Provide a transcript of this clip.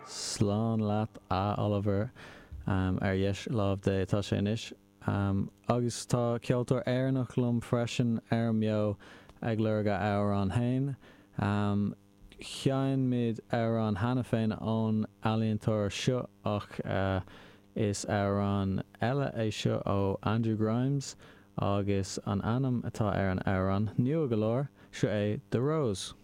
Slán leat, a Oliver. Ar dheis láimh Dé atá sé anois. Agus tá ceoltóir Éireannach liom freisin ar an mBeo ag lorg a amhrán féin. Sheinn muid amhrán cheana féin ón ealaíontóir seo ach is amhrán eile é seo ó Andrew Grimes agus an ainm atá ar an amhrán, nua go leor, seo é 'The Rose'.